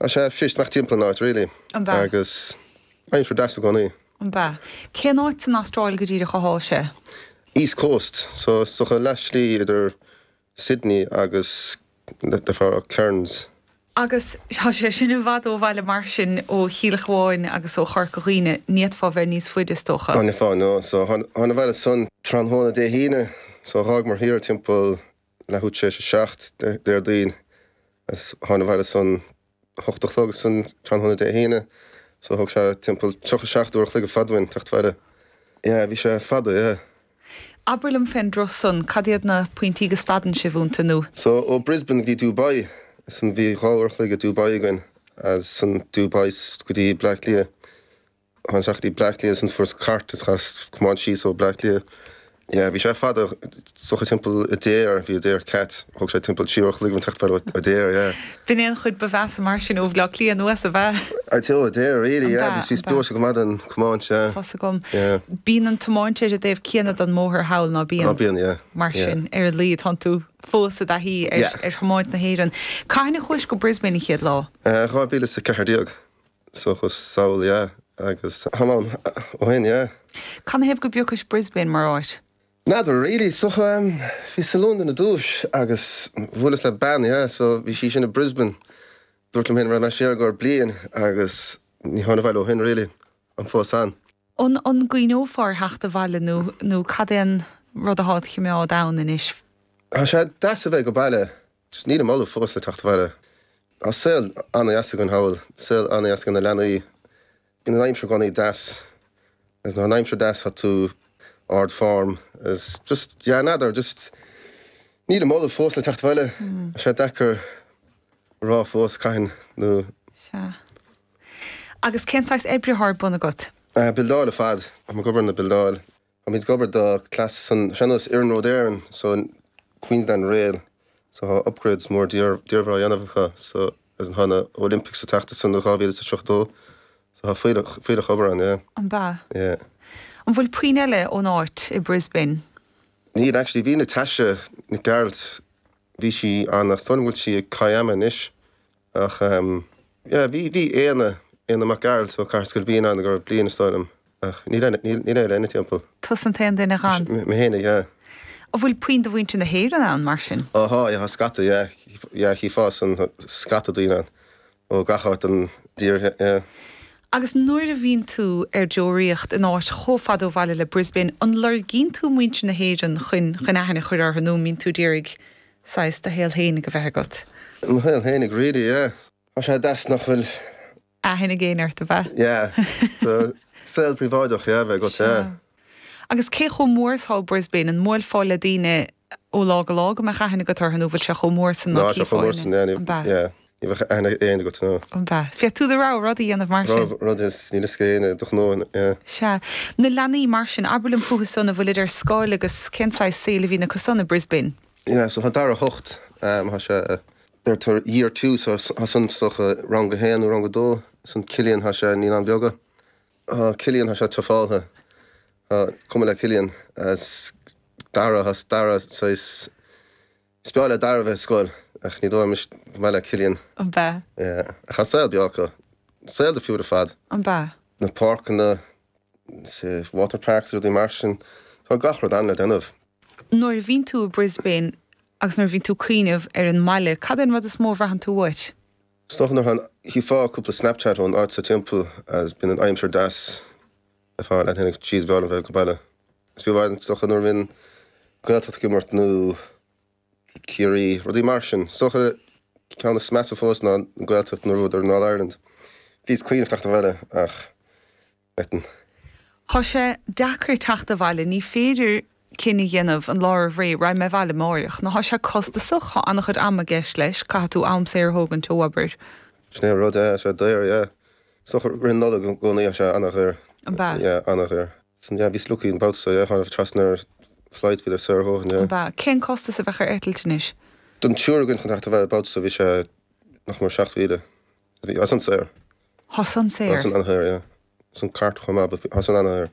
Tá sé fuist imeacht timpeall an áit really. An b'ea? Agus aimsir deas i gcónaí. An b'ea? Cén áit san Astráil go díreach athá sé? East Coast, so is dócha leath slí idir Sydney agus the Cairns. Agus tá sé sin i bhfad ó bhaile mar sin, ó Chill Chabháin agus ó Chorca Dhuibhne, ní fhéadfá bheith níos faide is dócha. Ní fhéadfá, no. So thána abhaile san tráthnóna Dé hAoine, so dh'fhágamar thiar timpeall leathuair tar éis a 7 Déardaoin agus thána abhaile san 8 a chlog san tráthnóna Dé hAoine so thóg sé timpeall 37 uair a chloig ar fad uainn teacht abhaile. Yeah, bhí sé fada, yeah. Abair liom fén dturas san, cad iad na pointí go stadann sibh iontu nó. So ó Brisbane go dtí Dubai san bhí 2 uair a chloig i Dubai againn as san Dubai go dtí Bleá Cliath. Thána isteach go dtí Bleá Cliath ansan fuaireas cairt is chaitheas tiomáint síos ó Bleá Cliath. Yeah, bhí sé fada, is dócha timpeall Adare, bhí Adare Cat, thóg sé timpeall 3 uair a chloig teacht abhaile ó Adare, yeah. B'in é an chuid ba mheasa mar sin ó Bhleá Cliath anuas, ab ea? I'd say ó Adare, really, yeah, bhí bhí gluaiste go maith den tiomáint, yeah. Tá's agam. Yeah. Bíonn an tiomáint ar an dtaobh céanna den mbóthar thall, ná bíonn? Á bíonn, yeah. Mar sin, ar a laghad, tánn tú fós i dtaithí ar ar thiomáint na hÉireann. Cathain a chuais go Brisbane an chéad lá? 2014. So chuas sall, yeah, agus táim ann ó shin, yeah. Canathaobh go bpiocais Brisbane mar áit? N'fheadar really, so bhíos i Londain ar dtúis agus bhuaileas le bean, yeah, so bhí sí sin i Brisbane. Dúirt liom féin rachaidh mé siar i gcomhair bliain agus ní thána abhaile ó shin really, táim fós ann. An an gcuimhneofá ar theacht abhaile nó nó cad é an rud athá id chimeád ann anois? Tá sé deas a bheith go baile. Just nílim ullamh fós le teacht abhaile. Tá saol an-dheas againn thall, saol an-dheas ag na leanaí. Bíonn an aimsir i gcónaí deas. Agus nuair atá an aimsir deas tá tú ard form. Is just, yeah, n'fheadar, just nílim ullamh fós le teacht abhaile. Tá sé deacair a rá fós cathain nó. Sea. Agus cén saghas oibre atá ar bun agat? Buildeáil ar fad. Táim ag obair na buildeáil. Táimid ag obair do cleas san sean-nós Iarnród Éireann so Queensland Rail so tá upgrades mór diamhair á dhéanamh acu so as tá na Olympics ag teacht ansan 2032 so tá fuílleach fuílleach obair ann yeah. An b'ea? Yeah. An bhfuil puinn eile ón áit i Brisbane? Níl actually bhí Natasha Nic Gearailt bhí sí ann ach is dóigh liom go bhfuil sí i Kiama anois Ach yeah, bhí, bhí Éanna, Éanna Mac Gearailt ó Cathair Scoil Bhín ann i gcomhair bliain is dóigh liom, ach níl aon, níl, níl éinne eile timpeall. Tusa an t-aon duine ann? Mé fhéinig, yeah. An bhfuil puinn de mhuintir na hÉireann ann, mar sin? Ó thá, yeah, tá scata, yeah, yeah, chífeá san, scata daoine ann ó gach áit den dtír, yeah. Agus nuair a bhíonn tú ar deoraíocht in áit chomh fada ó bhaile le Brisbane, an lorgaíonn tú muintir na hÉireann chun, chun aithne a chur orthu nó an mbíonn tú d'iarraidh saghas do shaol fhéinig a bheith agat. Mo shaol fhéinig really, yeah. Tá sé deas nach bhfuil. aithne ag éinne ort, ab ea? Yeah. Do saol príobháideach, yeah, a bheith agat, yeah. Sea. Agus cé chomh mór is atá Brisbane? An mbuailfeá le daoine ó lá go lá go mbeadh aithne agat orthu nó bhfuil sé chomh mór san ná Tá sé chomh mór san, yeah, ní, An b'ea? yeah. Ní bheadh aithne ag éinne agat, no. An b'ea? Féadfaidh tú do rogha rud a dhéanamh mar sin. Rogha rud is níl fhios ag éinne do ghnó, yeah. Sea. Na leanaí mar sin, abair liom fúthu san, an bhfuilid ar scoil agus cén saghas saoil a bhíonn acu san i Brisbane? Yeah, so tá Dara 8, tá sé, deirtear year 2, so tá san is dócha rang a haon nó rang a dó, san Cillian tá sé naíonáin bheaga. Tá Cillian tá sé tufáltha, tá cuma le Cillian, as Dara, tá Dara saghas, is breá le Dara bheith ar scoil ach ní dóigh liom go maith le Cillian. An b'ea? Yeah, ach tá saol breá acu, saol difriúil ar fad. An b'ea? Na páirceanna, water parks, rudaí mar sin, tá gach rud ann le déanamh. Nuair a bhíonn tú i Brisbane agus nuair a bhíonn tú ag cuimhneamh ar an mbaile, cad é an rud is mó a bhraitheann tú uait? Is dócha nuair a chífeá cúpla Snapchat ón áit sa timpeall agus bíonn an aimsir deas ar fáil leat féin jeez b'fhearr liom bheith go baile. Is fiú amháin is dócha nuair a bhíonn Gaeltacht ag imirt nó Ciarraí, rudaí mar sin. Is dócha ceann is measa fós ná an Gaeltacht nuair a bhuadar an All Ireland. Bhíos ag cuimhneamh teacht abhaile ach. Eton. Tá sé deacair teacht abhaile, ní féidir cinneadh a dhéanamh an lá roimh ré, raghaidh mé abhaile amáireach. Nó tá sé costasach, tá an-chuid ama i gceist leis, caithfidh tú am saor a thógaint ó obair. Sin é an rud, yeah, tá sé daor, yeah. Is dócha rith Nollag i gcónaí tá sé an-dhaor. An b'ea? Yeah, an-dhaor. San, yeah, bhíos lucky an babhta seo, yeah, tháinig trasna ar flights, bhíodar saor a dhóthain, yeah. An b'ea? Cén costas a bheadh ar eitilt anois? Don triúr againn chun teacht abhaile an babhta seo bhí sé nach mór 7,000. Bhí, tá san saor. Tá san saor. Tá san an-shaor, yeah. San cairt chomh maith, but tá san an-shaor.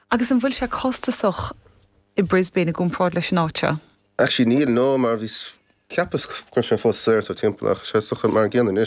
Agus an bhfuil sé costasach i Brisbane i gcomparáid leis an áit seo? Actually níl, no, mar bhí, cheapas go raibh sé fós saor sa timpeall ach sé is dócha mar an gcéanna anois.